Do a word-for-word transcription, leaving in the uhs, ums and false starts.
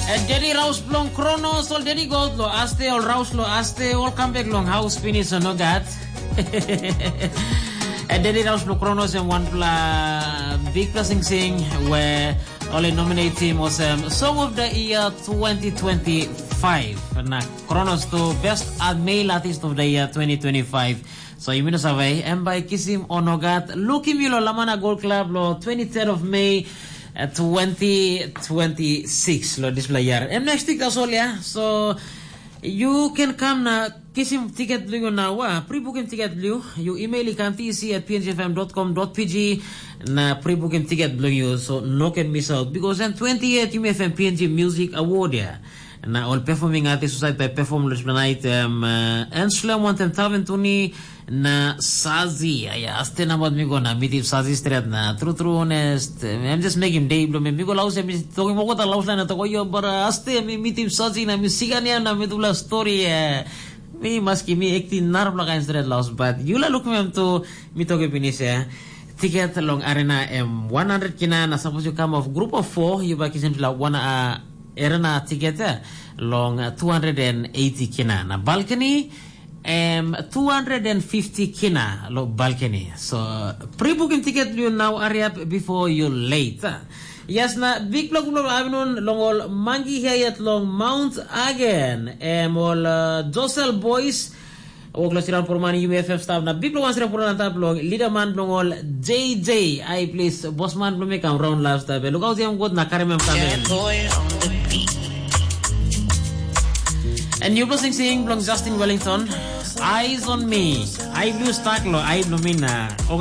Dedi raus bilong Kronos, ol dedi God lo aste, ol raus lo aste, ol kam bek long haus pinis o no gat. Dedi raus bilong Kronos em wanpela bikpela singsing we ol i nominatim olsem Song of the Year twenty twenty-five. Na Kronos tu Best Male Artist of the Year twenty twenty-five. So yumi no save em bai kisim o no gat. Lukim yu lo Lamana Gold Club lo twenty-third of May, uh, twenty twenty-six lo dispela year. Em next week tasol ya. So you can come na kisim tiket bilong yu nau. Pre-booking tiket bilong yu. You email i kam T C at P N G F M dot com dot P G na pre-booking tiket bilong yu. So no can miss out because then twenty-eight yumi F M P N G Music Award ya. Na ol performing artist husat bai perform long dispela night em uh, Enslem wantem Taven Tuni na Sazi. Aya, aste nabat mi go na mitim Sazi stret na true true honest. Em just mekim day bilong mi. Mi go laus em tokim okota laus lain na toko yo bara aste mi mitim Sazi na mi sigan ya na mi tupela story. Eh. Mi maski mi ekti narapela kain stret laus but yula lukim em tu mi tokim pinis ya. Tiket long arena em one hundred kina na sapos you come of group of four you bai kisim sila one uh, arena tiket eh, long uh, two hundred eighty kina na balcony em two hundred fifty kina lo balcony. So pre-booking tiket you now hurry up before you late. Yes na big block block afternoon long ol mangi here yet long Mount Again em ol uh, Josel Boys. Wok lo siran poroman U F F staff na big block wan siran poroman antap long leader man bilong ol J J. Ai please boss man bilong mi kam round last time. Look out yang good na karim em kamen. And you blessing sing bilong Justin Wellington. Eyes on me. Ai blue stack lo ai bilong mi na. Oga